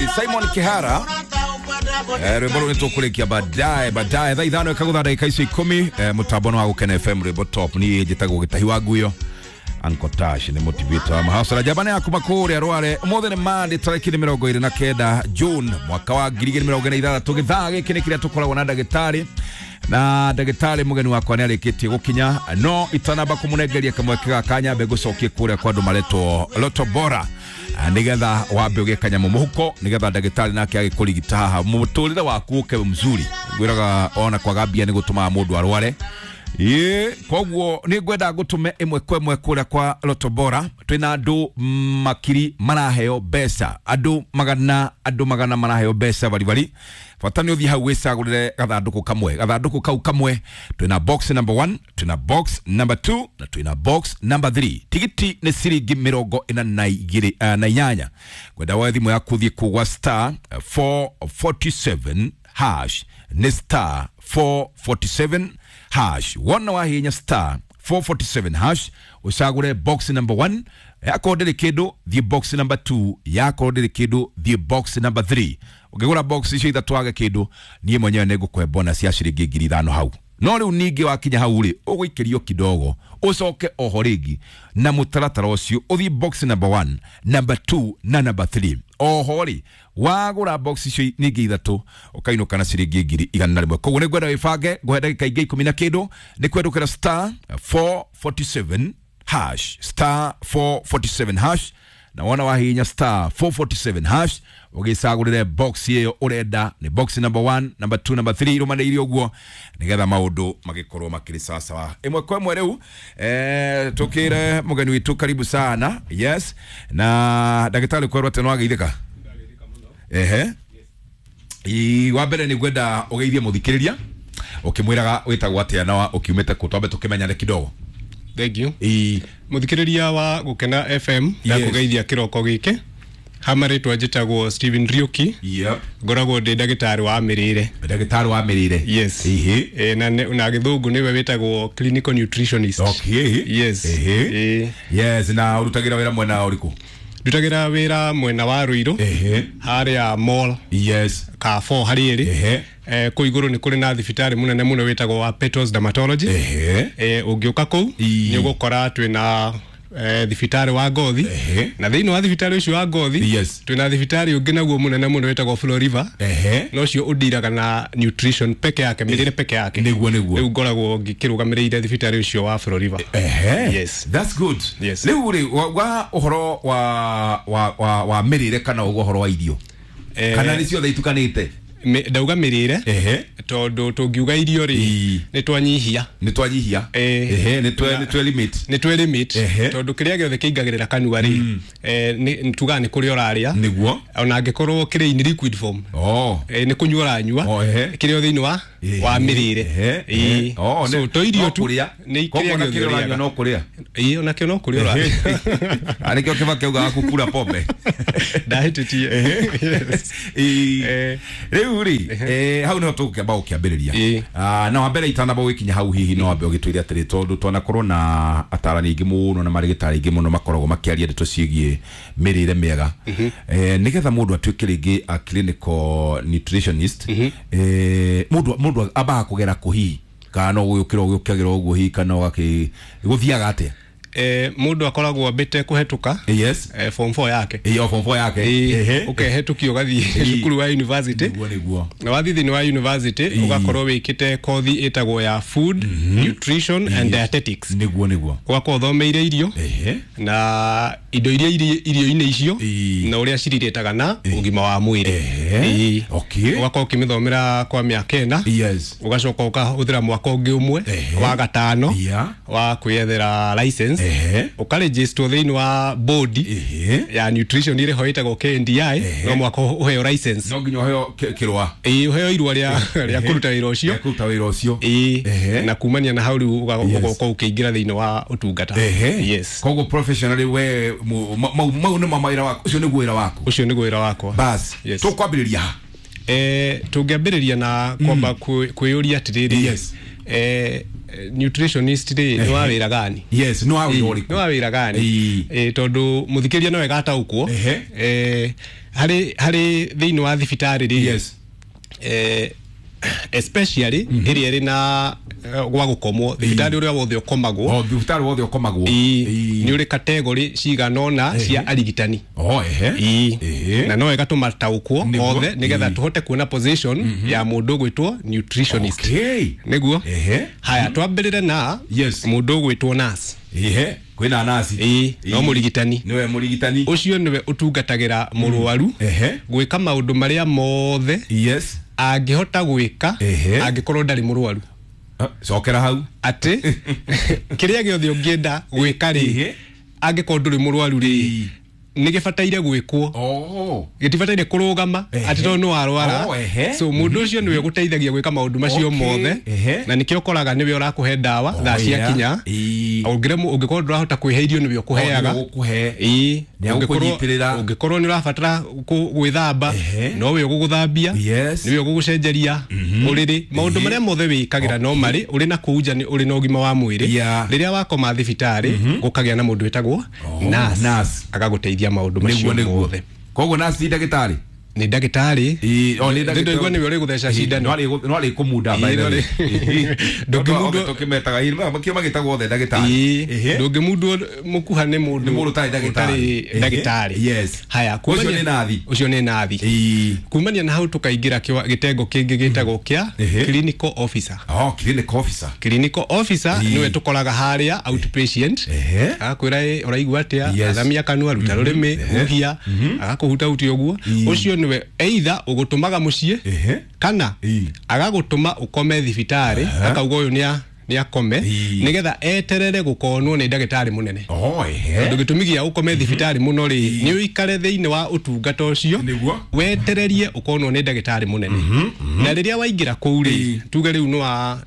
Simon Kihara, rwimbo rå nä tå kå rä kia baadaye baadaye thaa 5 ikagutha ndagä icio 10, mũtambo wa Gũkena FM, rwimbo top. Niä njätagwo Gĩtahi wa Nguyo, Uncle Tash nĩ motivator wa mahasara njamba ya kuma kũrĩa Rware. Ũmũthĩ nĩ Monday, tarĩki nĩ 29 June mwaka wa 2026. Gĩthaa gĩkĩ nĩ kĩrĩa tũkoragwo na ndagĩtarĩ, na ndagĩtarĩ mũgeni wakwa nĩ arĩkĩtie gũkinya, no itanamba kũmũnengeria kamweke gaka nyambe ngũcokie kũrĩa kwa andũ maretwo Loto Bora, nigetha wambe ũgĩe kanyamũ mũhuko, nigetha ndagĩtarĩ nake agĩkũrigita haha mũtũrĩre waku ũke mzuri. Ngwĩraga ona kwaga mbia nĩ gũtũmaga mũndũ arware. Ĩ koguo nĩ ngwenda ngũtũme ĩmwe kwa ĩmwe kũrĩa kwa Loto Bora. Twĩna andũ makiri maraheo mbeca, andũ magana, andũ magana maraheo mbeca baribari. Bata nĩ ũthiĩ hau wĩcagũrĩre gathandũkũ kamwe, gathandũkũ kau kamwe twĩna box number 1, twĩna box number 2 na twĩna box number 3. Tigiti nĩ ciringi 48 na inyanya. Kwenda woe thimũ yaku ũthiĩ kũgwa star 447 hash, nĩ star 447 hash. Wona wahinya star 447 hash, ucagure box number 1. Yakorwo ndĩrĩ kĩndũ, thiĩ box number 2. Yakorwo ndĩrĩ kĩndũ, thiĩ box number 3. Ũngĩgũra box icio ithatũ wage kĩndũ, niĩ mwenyewe nĩ ngũkũhe bonus ya ciringi 5,000 hau. No rĩu ningĩ wakinya hau rĩ, ũgũikĩrio kidogo, ũcoke oho rĩngĩ na mũtaratara ũcio, ũthiĩ box number 1, number 2 na number 3. Oho rĩ, wagũra box icio ningĩ ithatũ, ũkainũka na ciringi 100,000. Koguo nĩ ngwenda wĩbange, ngũhe ndagĩka ingĩ 10 na kĩndũ, nĩ kwendũkĩra star 447 hash, star 447 hash. Na wona wahihinya star 447 hash, ũgĩcagũrĩre box ĩyo ũrenda, nĩ box number 1, number 2, number 3, irũmanĩire ũguo nĩgetha maũndũ magĩkorwo makĩrĩ sawasawa. Ĩmwe kwa ĩmwe rĩu, tũkĩre mũgeni witũ karibu sana. Yes, na ndagĩtarĩ kwerwo atĩ nĩwageithĩka. Ehe, wa mbere nĩ ngwenda ũgeithie mũthikĩrĩria ũkĩmwĩraga wĩtagwo atĩa na ũkiumĩte kũ, twambe tũkĩmenyane kidogo. Thank you. Mũthikĩrĩria wa Gũkena FM, ndakũgeithia kĩroko gĩkĩ. Hama rĩtwa njĩtagwo Stephen Riuki. Ngoragwo ndĩ ndagĩtarĩ wa mĩrĩre. Ndagĩtarĩ wa mĩrĩre. Yes. Na gĩthũngũ nĩwe wĩtagwo clinical nutritionist. Okay. Yes. Yes, na ũrutagĩra wĩra mwena ũrĩkũ? Ndutagĩra wĩra mwena wa Ruiru. Harĩa mall. Yes. Ka 4 harĩ ĩrĩ. Kũu igũrũ nĩ kũrĩ na thibitarĩ mũnene mũno wĩtagwo wa Petals Dermatology. Ũngĩũka kũu nĩ ũgũkora twĩna thibitarĩ wa ngothi, na thĩinĩ wa thibitarĩ ũcio wa ngothi twĩna thibitarĩ ũngĩ naguo mũnene mũno wĩtagwo Floriva. Na ũcio ũndiraga na nutrition peke yake, mĩrĩre peke yake. Nĩguo nĩguo. Rĩu ngoragwo ngĩkĩrũgamĩrĩire thibitarĩ ũcio wa Floriva. Yes. That's good. Yes. Rĩu rĩ, wa ũhoro wa mĩrĩre kana ũguo ũhoro wa irio, kana nĩ ciothe itukanĩte? Ndauga mĩrĩre tondũ tũngiuga irio rĩ, nĩ twanyihia. Nĩ twanyihia. Nĩ twe limit. Nĩ twe limit tondũ kĩrĩa gĩothe kĩingagĩrĩra kanua rĩ, tugaga nĩ kũrĩa ũrarĩa. Nĩguo. Ona angĩkorwo kĩrĩ in liquid form. Nĩ kũnyua ũranyua. Kĩrĩa thĩinĩ wa mĩrĩre. So to irio tu nĩ kĩrĩa gĩothe ũrĩaga. No kũrĩa. Ĩĩ, ona kĩo no kũrĩa ũrarĩa. Nĩkĩo Kĩbakĩ augaga kũkura pombe. Ndahĩtĩtie. Rĩu rĩ, hau nĩho tũgũkĩamba gũkĩambĩrĩria. Na wa mbere itanamba gũgĩkinya hau, hihi no wambe ũgĩtwĩre atĩrĩ, tondũ twanakorwo na atarani aingĩ mũno na marĩgĩtarĩ aingĩ mũno makoragwo makĩaria ndeto ciĩgiĩ mĩrĩre mĩega, nĩgetha mũndũ atuĩke rĩngĩ a clinical nutritionist, mũndũ ambaga kũgera kũ hihi, kana no gũgĩũkĩra ũgĩũkagĩra ũguo hihi, kana ũgakĩ gũthiaga atĩa? Mũndũ akoragwo ambĩte kũhetũka form 4 yake. Ĩyo form 4 yake. Ũkehetũkio ũgathiĩ cukuru wa university. Nĩguo nĩguo. Na wathiĩ thĩinĩ wa university ũgakorwo wĩkĩte kothi ĩtagwo ya food, nutrition and dietetics. Nĩguo nĩguo. Ũgakorwo ũthomeire irio na indo iria irio-inĩ icio na ũrĩa cirirĩtaga na ũgima wa mwĩrĩ. Ũgakorwo ũkĩmĩthomera kwa mĩaka 4. Ũgacoka ũkahũthĩra mwaka ũngĩ ũmwe wa gatano wa kwĩyethera license. Ũkarejistwo thĩinĩ wa board ya nutrition ĩrĩa ĩtagwo KNDI, no mwaka ũheo license. No nginya ũheo kĩrũa. Ĩĩ, ũheo irũa rĩa kũruta wĩra ũcio. Rĩa kũruta wĩra ũcio. Ĩĩ, na kumania na hau rĩu ũgoka ũkĩingĩra thĩinĩ wa ũtungata. Yes. Koguo professionally we mau nĩmo mawĩra waku, ũcio nĩguo wĩra waku. Ũcio nĩguo wĩra wakwa. Bas, tũkwambĩrĩria ha? Tũngĩambĩrĩria na kwamba kwĩyũria atĩrĩrĩ. Nutritionist rĩ, nĩ wa wĩra gani? Yes, nĩ wa wĩra ũrĩkũ? Nĩ wa wĩra gani? Tondũ mũthikĩria no ĩgataũkwo harĩ thĩinĩ wa thibitarĩ rĩ, especially ĩrĩa ĩrĩ na gwa gũkomwo, thibitarĩ ũrĩa wothe ũkomagwo. O thibitarĩ wothe ũkomagwo. Nĩ ũrĩ kategori cigana ũna cia arigitani. Oh, ehe. Na no wega tũmataũkwo othe nĩgetha tũhote kuona position ya mũndũ ũgwĩtwo nutritionist. Nĩguo. Haya, twambĩrĩre na mũndũ ũgwĩtwo nurse. Ehe, kwĩna nasi. Ĩĩ, no mũrigitani. Nĩwe mũrigitani. Ũcio nĩwe ũtungatagĩra mũrwaru gwĩka maũndũ marĩa mothe angĩhota gwĩka angĩkorwo ndarĩ mũrwaru. Ah, cokera hau. Atĩ kĩrĩa gĩothe ũngĩenda gwĩka rĩ, angĩkorwo ndũrĩ mũrwaru rĩ, nĩ gĩbataire gwĩkwo. Gĩtibataire kũrũgama atĩ tondũ nĩ warwara. Oh, ehe. So mũndũ ũcio nĩwe ũgũteithagia gwĩka maũndũ macio mothe, na nĩkĩo ũkoraga nĩwe ũrakũhe ndawa thaa ciakinya. Ũngĩremwo, ũngĩkorwo ndũrahota kwĩhe irio, nĩwe ũkũheaga. Oh, nĩwe ũgũkũhe. Nĩ agũkũnyitĩrĩra. Ũngĩkorwo nĩ ũrabatara gwĩthamba, nowe ũgũgũthambia, nĩwe ũgũgũcenjeria ũrĩrĩ. Maũndũ marĩa mothe wĩkagĩra no marĩ ũrĩ na kũu nja, nĩ ũrĩ na ũgima wa mwĩrĩ. Rĩrĩa wakoma thibitarĩ, gũkagĩa na mũndũ wĩtagwo nurse, nurse. agagũteithia maũndũ macio mothe. Koguo nurse ti ndagĩtarĩ? Nĩ ndagĩtarĩ. Ĩĩ, o nĩ ndagĩtarĩ. Ndĩraigua nĩwe ũrĩ gũtheca cindano. No arĩ kũmunda by the way. Ndũngĩmundwo. Tũkĩmetaga makĩo magĩtagwo othe ndagĩtarĩ. Ndũngĩmundwo mũkuha nĩ mũndũ Nĩ mũndũ ũtarĩ ndagĩtarĩ. ũtarĩ ndagĩtarĩ. Haya. Ũcio nĩ nathi. Ũcio nĩ nathi. Kumania na hau tũkaingĩra gĩtengo kĩngĩ gĩtagwo kĩa clinical officer. Oh, clinical officer. Clinical officer nĩwe tũkoraga harĩa outpatient, agakwĩra, "Ĩ, ũraigua atĩa?" Athamia kanua, ruta rũrĩmĩ, huhia, agakũhutahutia ũguo. Ũcio nĩwe either ũgũtũmaga mũciĩ kana agagũtũma ũkome thibitarĩ, akauga ũyũ nĩ akome nĩgetha eterere gũkonwo nĩ ndagĩtarĩ mũnene. Oh, ehe. Tondũ gĩtũmi gĩa ũkome thibitarĩ mũno rĩ, nĩ ũikare thĩinĩ wa ũtungata ũcio wetererie ũkonwo nĩ ndagĩtarĩ mũnene. Na rĩrĩa waingĩra kũu rĩ, tuge rĩu nĩ wa